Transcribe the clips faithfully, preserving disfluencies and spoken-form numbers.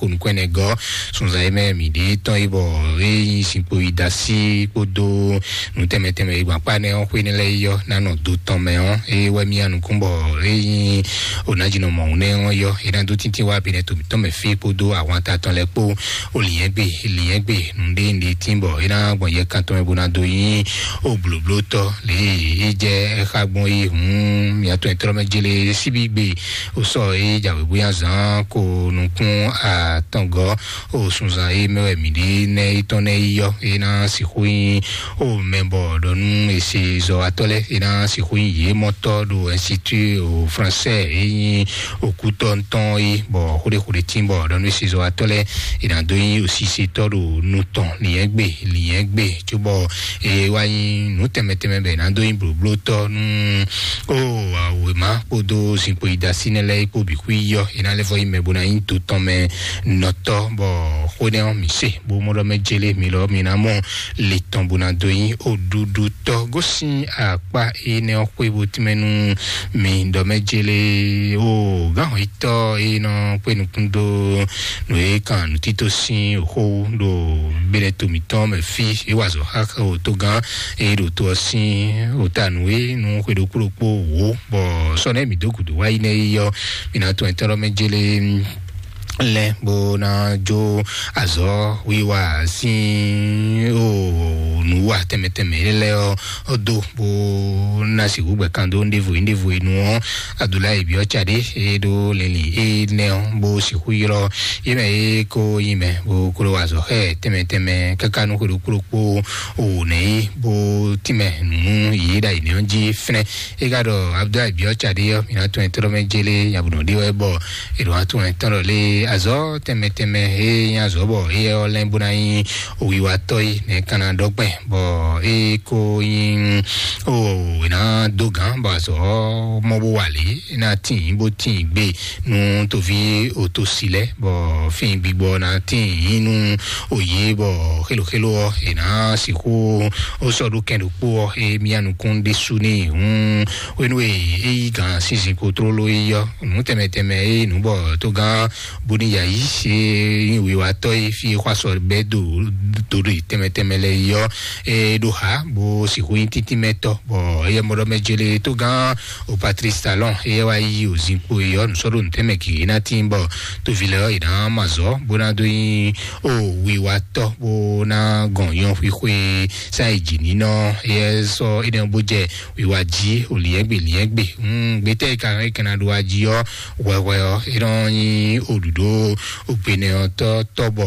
ko nukɔn ɛnɛ gɔ́ sunzan e mɛ mǐ ɖe tɔn yi bɔ e nyi zinkpo yi da sí kpódó nǔ tɛnmɛ tɛnmɛ e gbɔn akpá nɛ ɔ́ xwé nɛ lɛ́ɛ yi ɔ́ ná nɔ do tɔn mɛ ɔ́, eye wɛ mì ya nukún bɔ e nyi onajinɔ mɔ̌hun nɛ ɔ́ yɔ, e ná dó tíntín wá binɛ to mǐtɔn mɛ fí kpódó ahwanta tɔn lɛ́ɛ kpó. O lǐnyɛ́gbe, lǐnyɛ́gbe nǔɖé nɖe tín bɔ é ná gbɔn yɛ kan tɔn mɛ bó ná dó nyí o blǒblótɔ́ lě e é jɛ xá gbɔn é hǔn. Mǐtɔn e tlɔ́ mɛ jélé síbí gbe o sɔ é jǎwe bóyá zán ko nukún atɔngɔ́ o sunzan e mɛ wɛ mǐ ɖe nɛ é tɔn nɛ yi yɔ é ná sixú nyí o mɛ bɔ ɖɔ nú e se zɔwatɔ́ lɛ́ɛ é ná sixú nyí yě mɔtɔ́ ɖo institut o français é nyí òkútɔ́ tɔn yi bɔ xóɖéxóɖé tín bɔ ɖɔ nú e se zɔwatɔ́ lɛ́ɛ é ná dó nyí òsisetɔ́ ɖo nu tɔn lǐnyɛ́gbe, lǐnyɛ́gbe cóbɔ e wá nyí nǔ tɛnmɛ tɛnmɛ bɛ ná dó nyí blǒblótɔ́ nú o wěma kpódó zinkpo yi da sí nɛ lɛ́ɛ kpó bǐ xwí yɔ é ná lɛ́ vɔ nyí mɛ bó ná nyí to tɔn mɛ nɔtɔ́ bɔ xó nɛ ɔ́ mǐ se bó mɔ ɖɔ mɛ jélé mi lɔ mi ná mɔ le tɔn bó ná dó nyí oɖuɖutɔ́ gosín akpá énɛ́ ɔ́ xwé bó tínmɛ nú mi ɖɔ mɛ jélé o gǎn hɔn yítɔ́ é nɔ kpé nukún dó nǔ e kan nǔtító sín xó ɖo bɛ́nɛ́ to mǐtɔn mɛ fí é wa azɔ̌ xá o tógán e ɖo to ɔ́ sín o ta nǔ e nú xwe ɖokpó ɖokpó wǒ bɔ sɔ́ nɛ́ mǐ dó gǔdo wá yi nɛ́ yi ɔ́, mǐ ná tɔn ɛtɔ́ mɛ jélé lɛ́ bó ná jó azɔ̌ wiwa sín o nǔwa tɛnmɛ tɛnmɛ lɛ́ɛ ɔ́ dó bó ná sixú gbɛ kan dó ɖěvo yi ɖěvo yi nu ɔ́, Adulayi Biɔtsa ɖé e ɖó lɛnlɛn énɛ́ ɔ́ bó sixú ylɔ́ yé mɛ e ko nyi mɛ bó klo azɔ̌ xɛ tɛnmɛ tɛnmɛ káká nú xwe ɖokpó ɖokpó o nɛ yi bó tínmɛ nǔ yě ɖo ayǐ nɛ́ ɔ́ jí fínɛ́. É ka ɖɔ Abdulayi Biɔtsa ɖé ɔ́, mǐ ná tún ɛtɔ́ mɛ jélé nyabuɖɔ ɖé wɛ bɔ è ɖo wá tún ɛtɔ́ ɖɔ lé azɔ̌ tɛnmɛ tɛnmɛ e nyi azɔ̌ bɔ éyɛ́ ɔ́ lɛ́ bó ná nyí wiwatɔ́ yi nɛ̌ ka ná ɖɔ gbɛn bɔ é ko nyí o è nǎ dó gǎn bɔ azɔ̌ mɔ bó wà lě é ná tín bó tín gbé nú toví òtòsí lɛ́ɛ bɔ fín gbigbɔ ná tín nú òye bɔ xéloxélo ɔ́ è nǎ sixú ó sɔ́ ɖó kɛn ɖokpó ɔ́ é mía nukún ɖésú n'i hǔn hwenu e é yí gǎn sínsìn ko tlóló yi ɔ́ nǔ tɛnmɛ tɛnmɛ é nǔ bɔ tógán bóníyà yí é nyí wiwatɔ́ e fí é xɔ asɔ bɛ́ do do ɖe tɛnmɛ tɛnmɛ lɛ yi ɔ́ é ɖó xa bó sixú nyí títínmɛtɔ́ bɔ éyɛ́ mɔɖɔmɛ jélé tógán o Patrice Talon éyɛ́ wá yí o zinkpo yi ɔ́ nǔsɔ́ɖó nǔtɛnmɛ gěgé ná tín bɔ toví lɛ́ɛ ɔ́ yě ná mɔ azɔ̌ bó ná dó nyí o wiwatɔ́ bó ná gɔn nyɔ́ xwixwe sáyidjǐnínɔ éyɛ́ sɔ́ énɛ́ bó jɛ wiwa jí o lǐnyɛ́gbe lǐnyɛ́gbe gbétɛ́ yi ka é kɛ́ ná ɖó wá jí ɔ́ hwɛhwɛ ɔ́ é nɔ nyí oɖuɖó ogbenɛɔtɔ́ tɔ́bɔ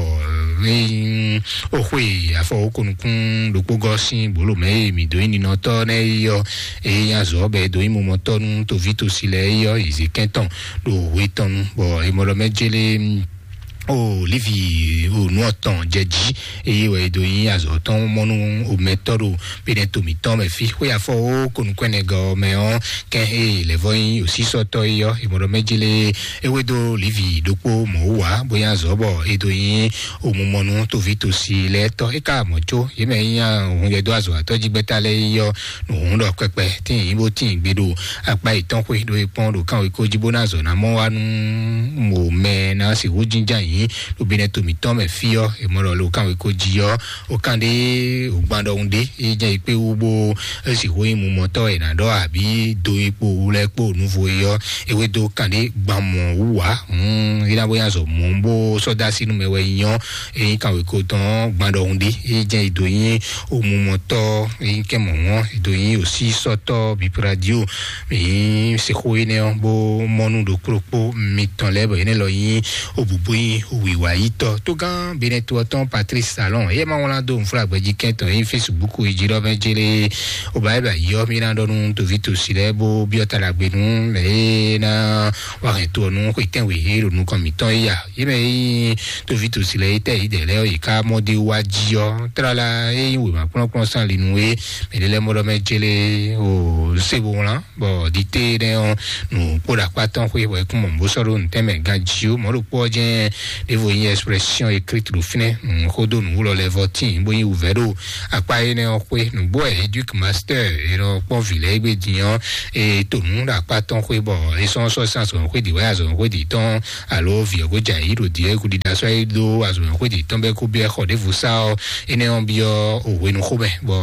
é nyí oxwe afɔwókonukún ɖokpó gɔ́ sín bǒlomɛ e mǐ dó nyí ninɔtɔ́ nɛ́ é ɔ́ é nyí azɔ̌ bɔ é dó nyí mumɔtɔ́ nú toví tosi lɛ́ɛ é ɔ́ yě zě kɛ́n tɔn ɖo hwe tɔn nu bɔ è mɔ ɖɔ mɛ jélé o Livi o nú ɔtɔn jɛ jí eye wɛ e do nyi azɔ tɔn mɔnu o mɛtɔ ɖo bene to mǐtɔn mɛ fí xwé afɔ o konukɔnɛgɔ mɛ ɔ́ kɛ e lɛvɔ nyi osisɔtɔ yi ɔ́ e mɔɖɔ mɛ jele ewe do Livi ɖokpó mɔ wá bóyá azɔ bɔ e do nyi o mumɔnu tovi tosi lɛ tɔ e ka mɔ tso ye mɛ nyi hun yɛ do azɔ atɔ jigbɛta lɛ yi ɔ́ nǔhún ɖɔ kpɛkpɛ tín yín bó tín gbe ɖo akpa yětɔn xwé ɖo e kpɔ́n ɖo kánwé kó jí bó ná zɔ ná mɔ wá nú mò mɛ ná sixú jínján yín ɖo bínɛ to mǐtɔn mɛ fí ɔ́ e mɔ ɖɔ lo kánwé kó jí ɔ́ o kán ɖé o gbán ɖɔhun ɖé e jẹ́ ìpé wú bó e sixú nyí mumɔtɔ́ e ná ɖɔ àbí do ipò wú lɛ́ kpó nuvo e ɔ́ ewé dó kán ɖé gbán mɔ wú wá hǔn é ná bó nya zɔ mɔ bó sɔ́ dó así nú mɛ wɛ nyí ɔ́ e nyí kánwé kó tɔn gbán ɖɔhun ɖé e jẹ́ ìdó nyí omumɔtɔ eyi kɛ mɔ ŋɔ edo yi osi sɔtɔ bipradio mi sixo yi nɛ ɔ bo mɔnu ɖo kplokpo mitɔn lɛ bɔ yi nɛ lɔ yi obubu yi wiwa yi tɔ to gán benɛ to ɔtɔn Patrice Salon ye ma wlan do nfla gbɛji kɛntɔn yi Facebook yi ji lɔ mɛ jele o ba yi ba yɔ mi na dɔ nu tovi tosi lɛ bo biɔ ta la gbenu mɛ ye na wa hɛn to nu xɔ itɛn we he ɖo nukɔn mitɔn ya ye mɛ yi tovi tosi lɛ yi tɛ yi dɛ lɛ yi ka mɔ de wa ji ɔ trala ye yi wema kplɔnkplɔn san li nu ye mɛ de lɛ mɔ dɔ mɛ jele o se bo wlan bɔ dite ɖe ɔ nu kpo ɖo akpa tɔn xwe bɔ ekun mɔ bó sɔ ɖo ntɛmɛ ganji o mɔ ɖo kpɔ jɛ ɖěvo nyí expression écrite ɖo fínɛ́. Xódó nǔwúlɔ lɛ́ɛ vɔ tíin bó nyí wǔvɛ́ ɖo akpá énɛ́ ɔ́ xwé. Nǔgbó wɛ éduc master e nɔ kpɔ́n vǐ lɛ́ɛ gbé din ɔ́, e to nǔ ɖo akpá tɔn xwé bɔ é sɔ́ sɔ́ sín azɔ̌ xwé ɖi wɛ azɔ̌ xwé ɖi tɔn alo vǐ ɔ́ gó jɛ ayǐ ɖo ɖi ɛ kú ɖiɖa sɔ́ é dó azɔ̌ xwé ɖi tɔn bɛ́ kó byɔ́ xɔ ɖěvo sá ɔ́, énɛ́ ɔ́ byɔ́ òhwenu xó mɛ bɔ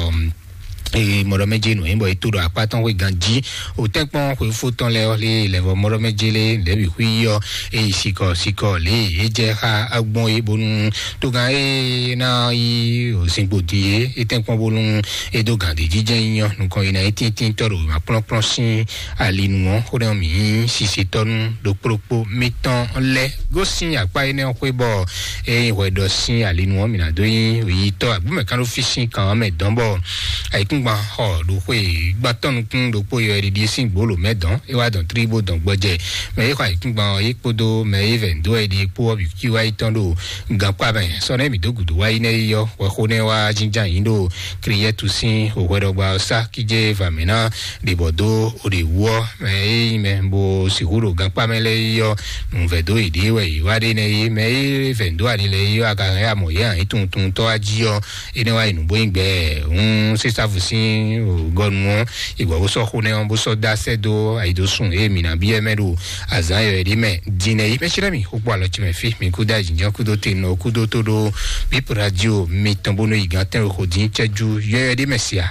mɔɖɔmɛjɛ nɔ yín bɔ é tó ɖo akpá tɔn xwé ganjí. Òtɛ́nkpɔn xwefó tɔn lɛ ɔ́ lé lɛvɔ mɔɖɔmɛjɛ lé lɛbí xwí ɔ́, é yi sikɔ sikɔ lé é jɛ xá agbɔn é bónú tógan é ná yí òsínkpo din é é tɛ́nkpɔn bónú é dó gǎn dé jíjɛ nyɔ nukɔn yi ná é tíntín tɔ́ ɖo akplɔ́kplɔ́ sín alinu ɔ́. Xó ɖé ɔ́ mǐ nyí sisitɔ́nú ɖokpóɖokpó mítɔn lɛ́ gosín akpá énɛ́ ɔ́ xwé bɔ é nyí hwɛɖɔ sín alinu ɔ́ mǐ ná dó nyí yitɔ́ agbómɛkánɖófí sín kan ɔ́ mɛ dɔn bɔ ayǐkúngban xɔ ɖo xwé gbãtɔ́nukún ɖokpó yɔ ɖiɖi sín gbolo mɛ dɔn é wá dɔn tlí bó dɔn gbɔjɛ mɛ é xɔ ayǐkúngban ɔ́ é kpódó mɛ é vɛ dó ɛ ɖi kpó ɔ́ bǐ kí wá yi tɔn ɖo gankpá mɛ. Sɔ nɛ mǐ dó gǔdo wá yi nɛ yi ɔ́ hwɛxó nɛ wá jínján yǐ ɖo kriyɛ́tu sín òhwɛɖɔgba ɔ́ sá kíjé vamǐ ná ɖe bɔ dó o ɖe wú ɔ́ mɛ é nyí mɛ bó sixú ɖo gankpá mɛ lɛ́ɛ yi ɔ́ nǔvɛ́ dó yěɖée wɛ yě wá ɖe nɛ yi mɛ é vɛ̌ dó ali lɛ́ɛ yi ɔ́ a ka hɛn amɔ yě hàn yí tuntuntɔ́ wá jí ɔ́ é nɛ́ wá yi nǔ bó nyí gbɛ hún sísáfu sín gɔnu ɔ́ ìgbà bó sɔ́ xó nɛ́ ɔ́ bó sɔ́ dó asẹ́ dó ayidosun é mǐ ná byɔ́ mɛ ɖo azǎn yɔ̌yɔ́ ɖé mɛ. Din nɛ yi mɛ sínú mì xó kpó alɔ ce mɛ fí mǐ kú dó ayǐjínjɔ́n kúdó te nɔ kúdó tó ɖó bíp radio mitɔn bónú yi gán tɛ́nwe xo dín cɛ́jú yɔ́yɔ́ ɖé mɛ sia.